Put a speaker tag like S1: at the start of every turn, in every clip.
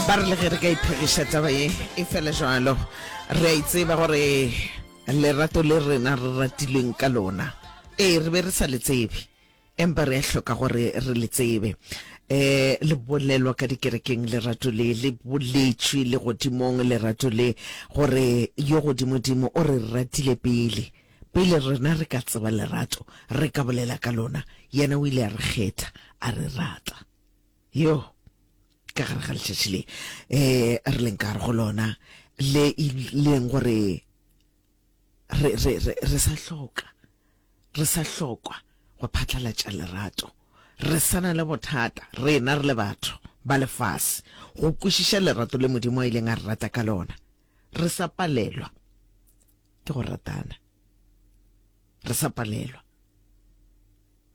S1: Ba re le ge re ka iphegiša taba ye e fela jwalo, re a itseba gore lerato le rena re ratilweng ka lona, ee, re be re sa le tsebe, empa re a hloka gore re le tsebe. Um le bolelwa ka dikerekeng lerato le, le boletšwe legodimong lerato le, gore yo godimodimo o re ratile pele. Pele rena re ka tseba lerato, re ka bolela ka lona, yena o ile a re kgetha, a re rata. Yo, ka gare ga letšatši le um re leng ka gare go lona, le e leng gore re, re, re, re sa hloka, re sa hlokwa go phatlalatša lerato. Re sa na le bothata, rena re le batho ba lefase, go kwešiša lerato le Modimo a ileng a re rata ka lona. Re sa palelwa ke go ratana. Re sa palelwa.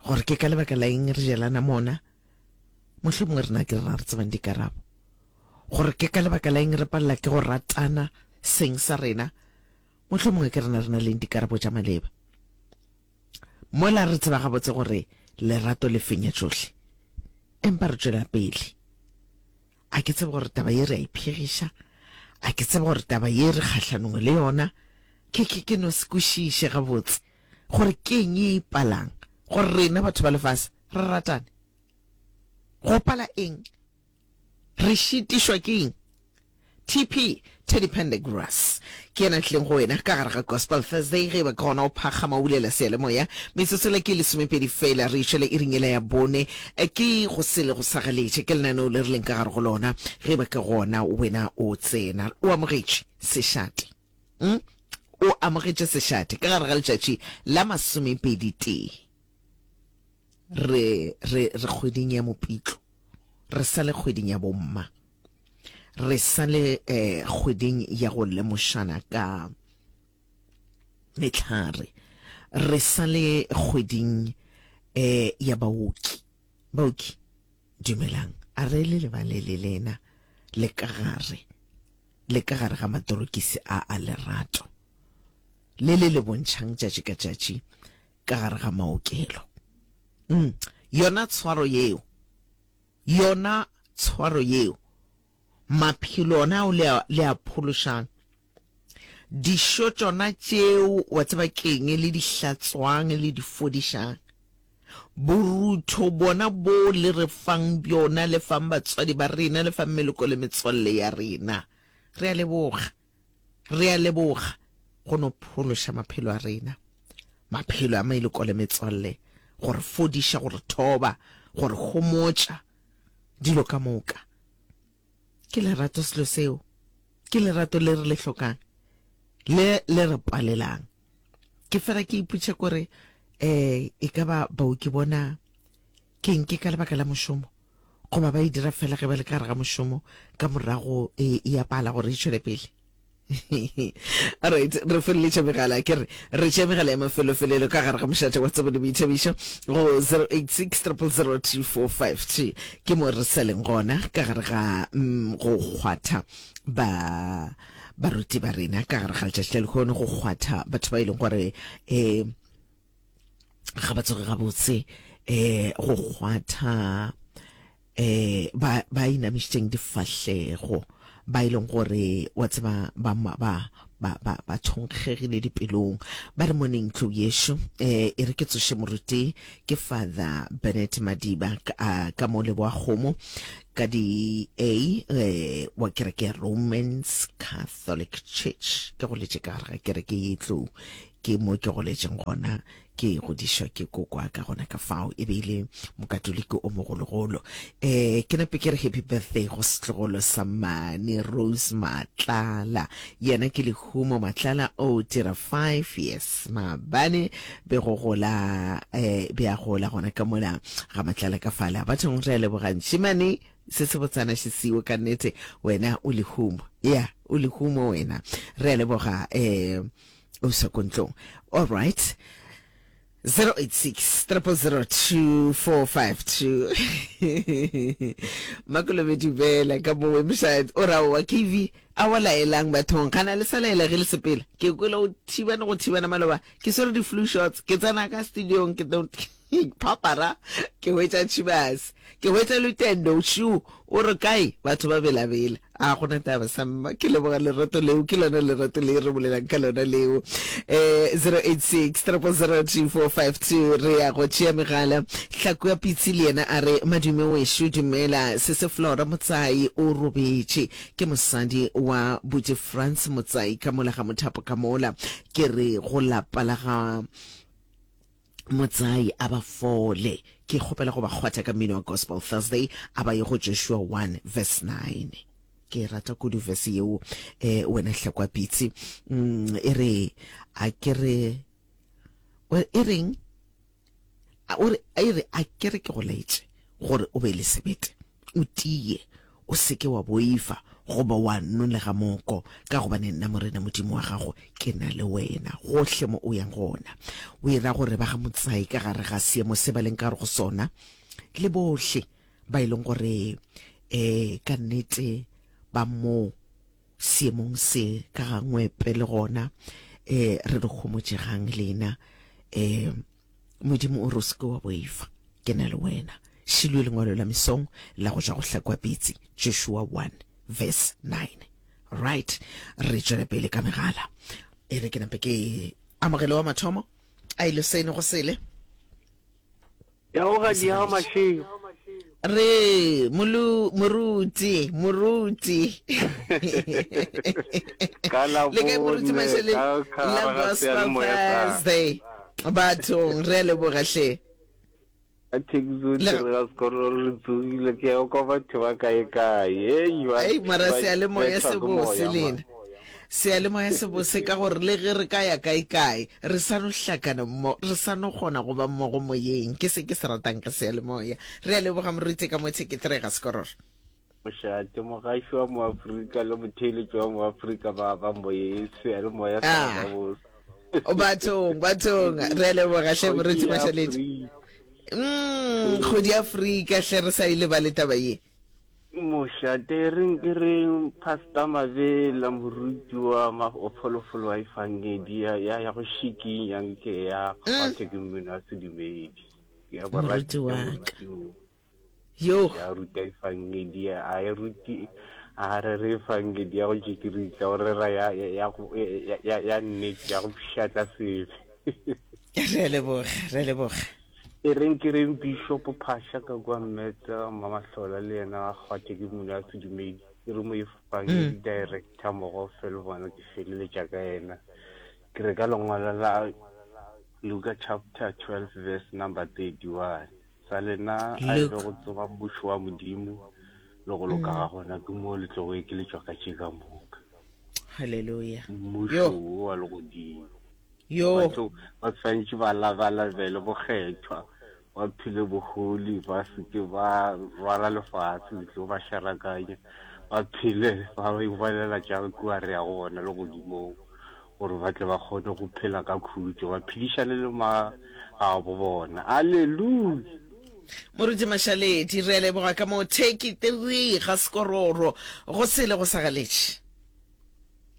S1: Gore ke ka lebaka la eng re jelana mona? Mohlomongwe rena ke rena re tsebang dikarabo. Gore ke ka lebaka la eng re palela ke go ratana seng sa rena? Mohlomongwe ke rena re na leng dikarabo tša maleba. Mola re tseba gabotse gore lerato le fenya tšohle, empa re tšwela pele. A ke tsebe gore taba ye re a iphegiša, a ke tsebe gore taba ye re kgahlanong le yona. Ke, ke, ke no se kwešiše gabotse gore ke eng ye e palang gore rena batho ba lefase re ratane. Go pala eng? Re šitišwa ke eng? TP, Teddy Pendergrass, ke yena a tlileng go wena ka gare ga Gospel Thursday. Ge e ba ke gona o phakgama o bulela seyalemoya, metsotso le ke lesomepedi fela re išwele iring yela ya bone. Ke go sele go sa galetše, ke lenaneo le re leng ka gare go lona. Ge e ba ke gona wena o tsena, o amogetše sešate. Mm? O amogetše sešate ka gare ga letšatši la masomepedi tee. Re, re, re kgweding ya Mopitlo. Re sa le kgweding ya bomma. Re sa le eh, kgweding ya go lemošana ka mehlare. Re sa le kgweding eh, ya baoki. Baoki, dumelang. A re le lebale le lena le ka gare, le ka gare ga matorokisi a a lerato le le le bontšhang tšatši ka tšatši ka gare ga maokelo. Mm, yona tshwaro yeo, yona tshwaro yeo, maphelo ona ao le a, le a phološang, dišo tšona tšeo, wa tseba keng, le di hlatswang, le di fodišang, borutho bona bo le re fang bjona, le fang batswadi ba rena, le fang meloko le metswalle ya rena. Re a leboga. Re a leboga go no phološa maphelo a rena, maphelo a meloko le metswalle, go re fodiša, go re thoba, go re homotša, dilo ka moka. Ke lerato selo seo. Ke lerato le re le hlokang, le le re palelang. Ke fela ke ipotša kore, eh, e ka ba baoki bona Ke'ng? Ke ka lebaka la mošomo? Goba ba e dira fela ge ba le ka gare ga mošomo, ka morago e, e a pala gore e tšwele pele? Alright, re feleletša megala, ke re re tšea megala ya mafelofelelo ka gare ga mošate wa tsebo le boithabišo go 086 000 2452. Ke mo re sa leng gona ka gare ga mm, go kgwatha ba baruti ba rena ka gare ga letšatši la lehono, go kgwatha batho ba e leng gore um ga ba tsoge gabotse um go kgwatha um ba ba inamišitšeng difahlego ba e leng gore wa tseba ba ba ba ba ba thonkgegile dipelong. Ba re moneng tlou yešo um e re ke tsoše moruti ke Father Bennett Madiba ka, ka mo Leboakgomo ka di A eh, wa kereke ya Romans Catholic Church. Ke goletše ka gare ga kereke ye tlou Ke mo ke goletšeng gona, ke godišwa ke koko wa ka gona ka fao, e be e le Mokatoliki o mogologolo. Um ke nape ke re happy birthday go setlogolo sa mane Rose Matlala, yena ke Lehumo Matlala, o dira 5 years maabane, be go gola um be a gola gona ka mola ga Matlala ka fala. Bathong re a leboga ntšhimane, se se botsana še siwo ka nnete, wena o lehumo, ya o lehumo wena, re a leboga um o sa ko ntlong. All right, 086 0002452. Makolobe dumela ka mo website o ra wa KV a wa laelang bathong gana le sa laela ge le sepela ke kwele o thibana go thibana maloba ke swere di flu shots ke tsena ka studiong ke. Phapara, ke hwetša Chivas, ke hwetša Lutendo, Shu, o re kae? Batho ba belabela. A gona taba sa mma, ke leboga lerato leo, ke lona lerato le re bolelang ka lona leo. Eh, 086 000 2452 re ya go tšea megala. Hlaku ya Pitsi le yena a re, Madume wešo, dumela, sese Flora Motsai o robetše. Ke mosadi wa Buti Frans Motsai ka mola ga Mothapo ka mola. Ke re go lapa la ga Motsai a ba fole. Ke kgopela go ba kgwatha ka mmino wa Gospel Thursday a ba ye go Joshua 1 verse 9. Ke rata kudu verse yeo eh, wena Hlakwa Pitsi. Mm, e re a ke re e reng o re e re a ke re ke go laetše gore o be le sebete O tie, o se ke wa boifa goba wa nolega moko, ka gobane nna Morena Modimo wa gago ke na le wena gohle mo o yang gona. O e ra gore ba ga Motsai ka gare ga seemo se ba leng ka gare go sona, le bohle ba e leng gore um ka nnete ba mo seemong se ka ga Ngwepe le gona, um re re homotšegang lena um Modimo o re o se ke wa boifa, ke na le wena. Šilwe lengwalo la mesong la go tšwa go Hlakwa Pitsi, Joshua 1 verse 9. Right, re tšwele pele ka megala. E re ke nape ke amogele wa mathomo a ile sene go sele.
S2: Ya go ga diago mašego.
S1: Re molu moruti moruti.
S2: Ka la
S1: Le kae moruti
S2: bone
S1: Mashele?
S2: ka ka
S1: La
S2: gare ga
S1: Gospel
S2: seyalemoya sa
S1: Thursday. Bathong re a leboga hle.
S2: Ka taxi
S1: Le
S2: re ga sekolo re tsogile ke ya kwa batho ba kae kae. Hey ba
S1: Ei mara
S2: ba
S1: seyalemoya
S2: bethwa
S1: se
S2: ke
S1: bose
S2: moya man.
S1: lena. Seyalemoya se bose ka gore le ge re ka ya kae kae re sa no hlakana mmo re sa no kgona go ba mmogo moyeng. Ke se ke se ratang ka seyalemoya. Re a leboga moruti ka mo Thekethree ga Sekororo.
S2: Mošate, mogaši wa Moafrika le motheeletši wa Moafrika ba ba moyeng, seyalemoya sa
S1: Ah.
S2: ba bose.
S1: Bathong, bathong, re a leboga hle moruti
S2: Kgoši ya
S1: Mašaledi.
S2: Afrika.
S1: Mm, kgodi ya Afrika hle re sa e lebale taba ye.
S2: Mošate, e reng ke reng Pastor Mabela moruti wa ma wa pholofolo wa efangedi ya ya ya go šikinya nke ya kgwathe ke mmino wa sedumedi. Ke ya
S1: Moruti
S2: borati
S1: wa ka.
S2: moruti o.
S1: Yo.
S2: Ya ruta efangedi a e ruti a rere efangedi ya go tšekiritla o rera ya ya ya go- ya ya ya nnete ya go pšhatla sebe.
S1: Re a leboga, re a leboga.
S2: E reng ke reng Bishop Phasha ka kua Mmete Mamahlola le yena a kgwathe ke mmino wa sedumedi. Ke re moefangedi director Mogofe le bona ke feleletša ka yena. Ke re ka lengwalo la Luka chapter 12 verse number 31. Sa lena a e be
S1: Luke.
S2: go tseba mmušo wa Modimo le go loka ga gona, ke moo le tlogo ekeletšwa ka tše ka moka.
S1: Hallelujah.
S2: Mmušo
S1: Yo.
S2: wo wa legodimo.
S1: Yo.
S2: Batho ba swanetše ba labalabele bokgethwa, ba phele bohole, ba se ke ba rwala lefase le tlo ba šarakanya, ba phele ba ipolela tša kua re yago gona legodimong, gore ba tle ba kgone go phela ka khutšo, ba phedišane le magabo bona. Aleluya!
S1: Moruti Mašaledi, re a leboga ka moo Turkey 3 ga Sekororo go sele go sa galetše.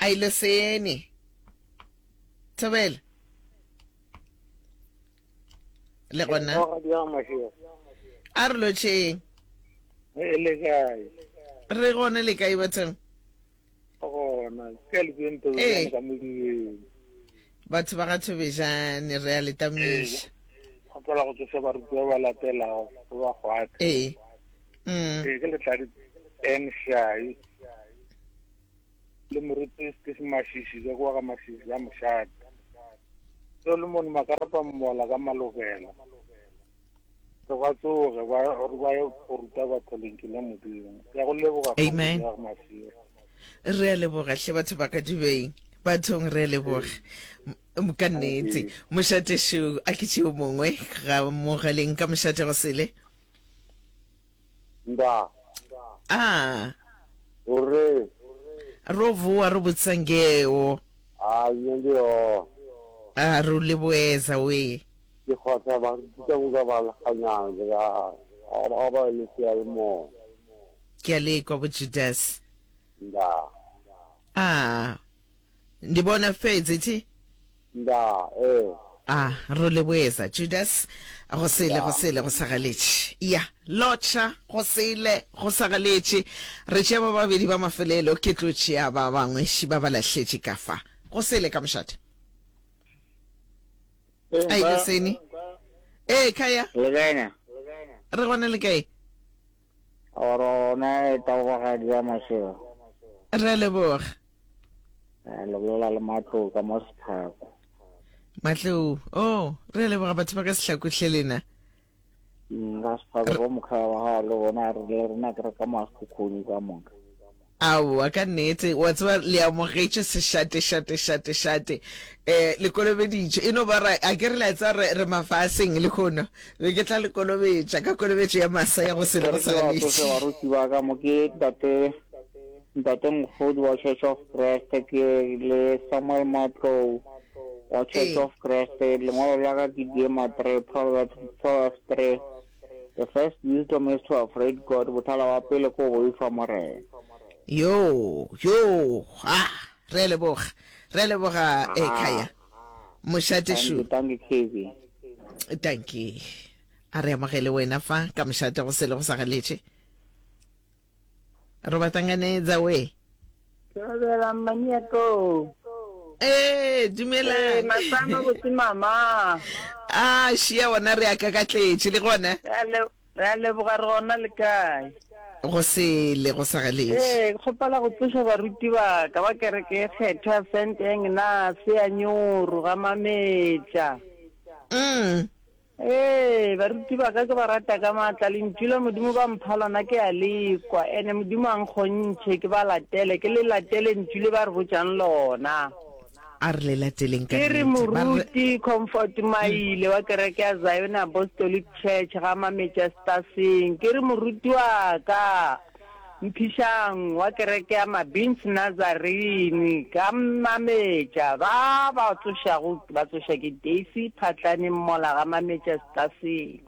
S1: A ile sene. Thobela. Le gona. A re lotšheng.
S3: Le kae?
S1: Re gona le kae bathong?
S3: Gona, ke le tseng Thobejane ka modibeng.
S1: Batho ba ga Thobejane re a le tamiša.
S3: Kgopela go tsoša barutiwa ba latelago go ba kgwatha.
S1: Ee. Mm.
S3: Ee, ke letladi N Shai. Le moruti Steve Mashishi ka kwa ga Mashishi ka mošate. Solomon Makarapa Mmola ka Malokela. Re ba tsoge ba re ba ye go ruta batho lentšu la Modimo. Ke a go leboga
S1: Amen.
S3: kgoši ya Masigo.
S1: Re a leboga hle batho ba ka dubeng. Bathong re a leboga. M- Ka nnete. Mošate šo a ke tšeo mongwe ga mogaleng ka mošate go sele.
S4: Nda.
S1: Ah.
S4: O re.
S1: Ro voa ro botsa ngeo.
S4: A nne ndi hone.
S1: A ro leboeza we.
S4: Ke kgotsa ba ruta moka ba lekganyang ke ra ga ba le seyalemoya.
S1: Ke a le kwa bo Judas.
S4: Nda.
S1: Ah. Ndi bona fhedzi thi?
S4: Nda, ee.
S1: A ro leboesa Judas go sele go sele go sa galetše. Ya lotšha go sele go sa galetše. Re tšea ba babedi ba mafelelo ke tlo tšea ba bangwe ši ba ba lahletše ka fa. Go sele ka mošate. Ai le sene. Ee kaya.
S5: Le kae na?
S1: Re gona le kae?
S5: Rona e taubagadi ya Mašego.
S1: Re a leboga.
S5: Le bolela le Matlou ka mo Setlhako.
S1: Matlou, oh, re a leboga batho ba ka Sehlako hle lena.
S5: Mm, ka Setlhako bo mokhaya wa gago le bona re le rena ke re ka mo Sekhukhune ka moka.
S1: Aowa, ka nnete, wa tseba le amogetše sešate šate šate šate. Eh, le kolobeditšwe. E no ba ra, a ke re la tseba re, re mafaseng lehono. Be ke tla le kolobetša ka kolobetšo ya masa ya go se le go sa
S5: Ke re ke ba tsoše baruti ba ka mo ke ntate Ntate Mokgodi wa Church of Christ ke le Samuel Matlou wa Church of Christ lengwalo la ka ke Diema 3 Proverbs Proverbs 3 The first wisdom is to afraid God bothala wa pele ko boifa Morena.
S1: Yo yo ah re a leboga re a leboga e khaya mošate
S5: šu. Thank you thank you
S1: KB. Thank you. A re amogele wena fa ka mošate go sele go sa galetše. Ro ba tanganedza we.
S6: Thobela mmaniato.
S1: Ee, dumelang.
S6: Ee, masama botse mama.
S1: Ah, šia wona re a kakatletše le gona.
S6: Re a leboga re gona le kae?
S1: Go sele go sa galetše.
S6: Ee, ke kgopela go tsoša baruti ba ka ba kereke e kgethwa ya Saint Agnes ya Nyoro ga Mametša.
S1: Mm.
S6: Ee, baruti ba ka ke ba rata ka maatla, Lentšu la Modimo ba mpha lona ke a le kwa, ene Modimo a nkgontšhe ke ba latele, ke le latele Ntšu le ba re botšang lona.
S1: A re le lateleng ka
S6: Ke re
S1: nnete. Ba re
S6: Moruti Comfort Maile wa kereke ya Zion Apostolic Church ga Mametša Staseng, ke re moruti wa ka Mphišang wa kereke ya Mabins Nazarene ka Mametša, ba ba tsošago ba tsoša ke Daisy Phatlane Mmola ga Mametša Staseng.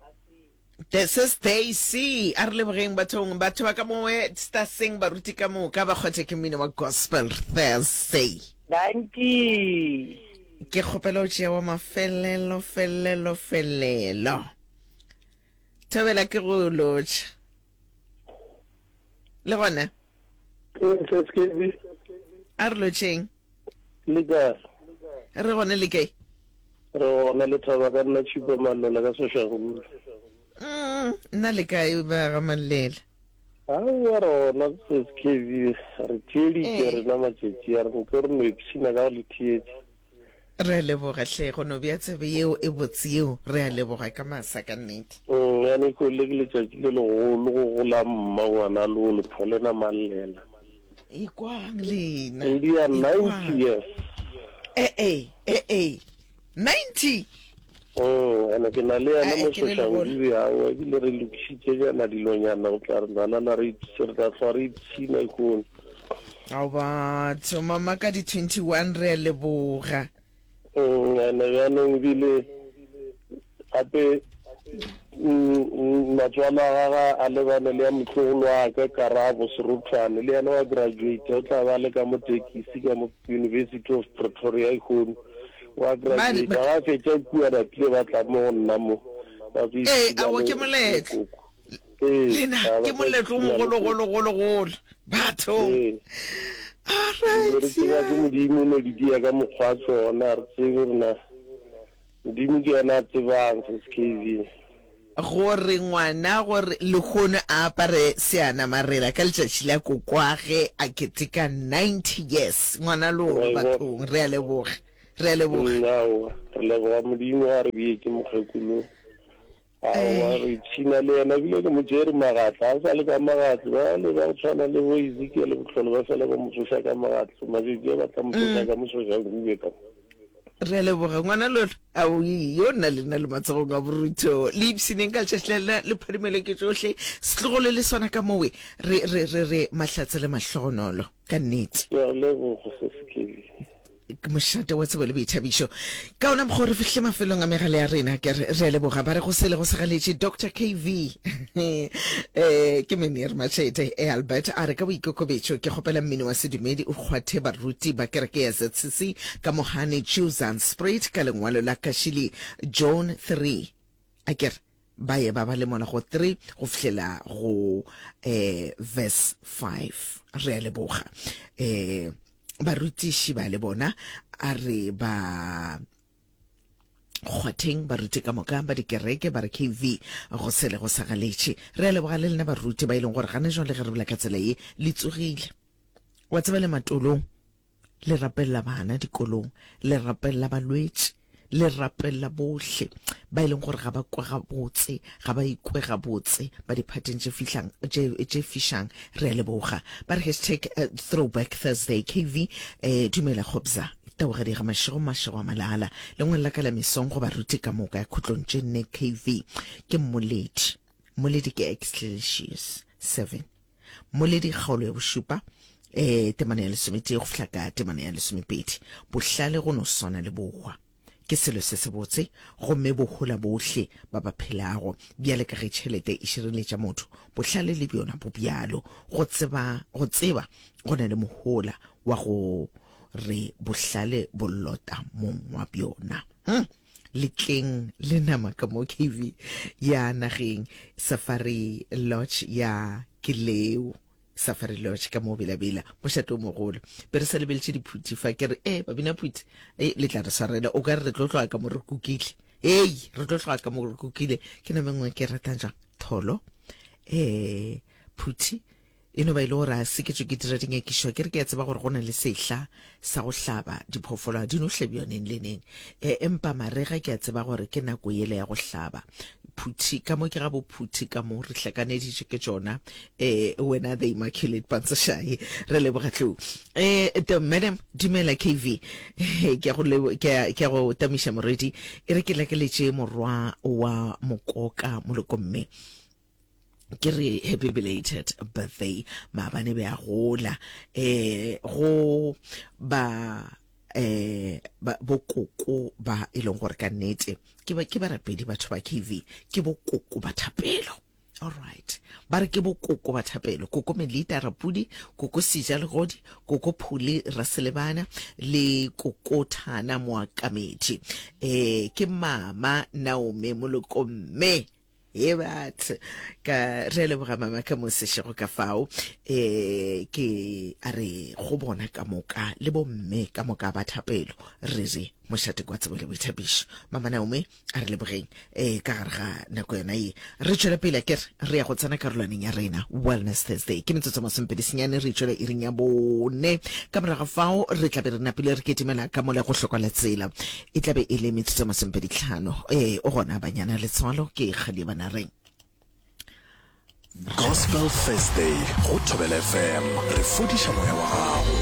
S1: This is Daisy. A re lebogeng bathong, batho ba ka mowe Staseng, baruti ka moka ba kgothe ke mmino wa Gospel Thursday.
S6: Dankie.
S1: Ke kgopela o tšea wa mafelelo, felelo, felelo. Thobela ke go lotšha. Le gona? A re lotšheng.
S7: Le kae?
S1: Re gone le kae?
S7: Re gona le thaba ka nna Tšhipa Mallela ka Soshanguve.
S1: Mm, nna le kae ba ga Mallela?
S7: Aowa re gona SKB re theeditše rena matšatši a re nko re no ipshina ka go le theetša.
S1: Re a leboga hle go no bea tsebe yeo e botse yeo. Re a leboga ka masa ka nnete.
S7: Mm, ya ko le ke letšatši le legolo go gola mma ngwana lo le pholena mallela.
S1: Ikwang lena.
S7: Ndi ya 90 years.
S1: Eh eh eh eh. 90.
S7: Mm, ene ke na le yena mo Soshanguve awa ebile re lokišitše jana dilonyana go tla re nalana re re tla hlwa re ipshina ikone.
S1: Ao batho mama ka di 21 re a leboga.
S7: Mm, ene bjanong ebile gape mm, matswalo a gaga a lebane le ya motlogolo wa ka Karabo Serothwane le yena wa graduate o tla ba le ka mo tekisi ka mo University of Pretoria ikgono wa graduate ga fetša kua ba tlile ba tla mo go nna mo ba tlo
S1: Ee, awo ke moletlo. Lena ke moletlo o mogologologologolo bathong. All right.
S7: Re tseba ke Modimo no di dia ka mokgwa tsona re tsebe rena Modimo ke yena a tsebang sis KV.
S1: Gore ngwana gore lehono a apare seanamarela ka letšatši la kokwage a keteka 90 years ngwana lolo bathong re a leboga re a leboga.
S7: Aowa re leboga Modimo a re beetše mokgekolo Aowa, re ipshina le yena, ebile ke mo tšere magatla, a sa le ka magatlo. Bale ba go tshwana le bo Ezekiel Bohlolo ba fela ba mo tsoša ka magatlo, matšatši a ba tla mo tsoša ka mosošangube ka mo.
S1: Re a leboga ngwana lolo. Ao, yo nna le nna le matsogong a borutho. Le ipshineng ka letšatši la lena, le phadimele ke tšohle. Setlogolo le sona ka mowe. Re, re, re, re mahlatse le mahlogonolo, ka nnete.
S7: Ke a leboga, Sesi Kelly.
S1: Mošate wa tsebo le boithabišo. Ka ona mokgwa re fihle mafelong a megala ya rena, ke re re a leboga. Ba re go sele go segaletše Doctor KV. Eh, ke Meneer Machete e Albert a re ka boikokobetšo ke kgopela mmino wa sedumedi o kgwathe baruti ba kereke ya ZCC ka Mohane Juzan Spruit ka lengwalo la Kashili John 3. A ke re ba ye ba ba le mola go 3 go fihlela go eh verse 5. Re a leboga. Eh barutiši ba le bona a re ba kgwatheng baruti ka moka ba dikereke ba re kv go sele go sa galetše. Re a leboga le lena baruti ba e leng gore gane jwale ge re bola ka tsela ye le tsogile wa tseba le matolong le rapelela bana dikolong, le rapelela balwetši, le rapelela bohle ba e leng gore ga ba kwe gabotse, ga ba ikwe gabotse, ba diphateng tše fihlang, tše, tše fišang. Re a leboga. Ba re hashtag uh, throwback Thursday. KV, eh, dumela Gobza. Taugadi ga mašego, mašego a malala. Lengwalo la ka la mesong go baruti ka moka ya khutlong tše nne KV. Ke mmoledi. Mmoledi ke Ecclesiastes 7. Mmoledi kgaolo ya bošupa eh temana ya lesometee go fihla ka temana ya lesomepedi. Bohlale go no swana le bohwa. Ke selo se sebotse gomme bo hola bohle ba ba phelago. Bjale ka ge tšhelete e šireletša motho, bohlale le bjona bo bjalo. Go tseba, go tseba go na le mohola wa go re bohlale bo lota mong wa bjona. Hmm. Letleng le nama ka mo KV ya nageng Safari Lodge ya ke leo Safari Lodge ka mo Bela-Bela mošate o mogolo be re sa lebeletše diphuthi fa ke re e babina phuthi e le tla re swarela o ka re re tlo tloga ka mo re kukile ei re tlo tloga ka mo re kukile ke nama e nngwe ke ratang jang tholo eh phuthi E no ba e le gore a se ke tšwe ke dira dinyakišo, ke re ke a tseba gore go na le sehla sa go hlaba diphoofolo, ga di no hlabiwa neng le neng. E, empa marega ke a tseba gore ke nako yela ya go hlaba. Phuthi, ka mo ke ga bo phuthi ka mo, re hlakaneditše ke tšona. E, wena the Immaculate Pantsošae, re leboga tlou. E, the madam, dumela KV. Ke a go lebo, ke a, ke a go tamiša morwedi. E re ke lakeletše morwa wa mokoka molokomme. Ke re happy belated birthday maabane be a gola eh go ba eh ba bokoko ba e leng gore ka nnete ke ba ke barapedi batho ba KV ke bokoko ba thapelo. All right, ba re ke bokoko ba thapelo, koko Melita Rapudi, koko Sija Legodi, koko Phule Raselebana le koko Thana Moakamedi, eh ke mama Naomi Molokomme. Ye batho ka re a leboga mama ka mo sešego ka fao eh ke a re go bona ka moka le bomme ka moka ba thapelo re re mošate kwa tsebo le boithabišo mama Naomi a re lebogeng eh ka gare ga nako yona ye re tšwele pele ke re ya go tsena karolwaneng ya rena Wellness Thursday ke metsotso masomepedi senyane re tšwele iring ya bone ka morago fao re tla be re napile re ketimela ka mola go hlokwa la tsela E tla be e le metsotso masomepeditlhano. Ee, o gona banyana letswalo ke kgadi banareng.
S8: Gospel Thursday go Thobela FM. Re fodiša moya wa gago.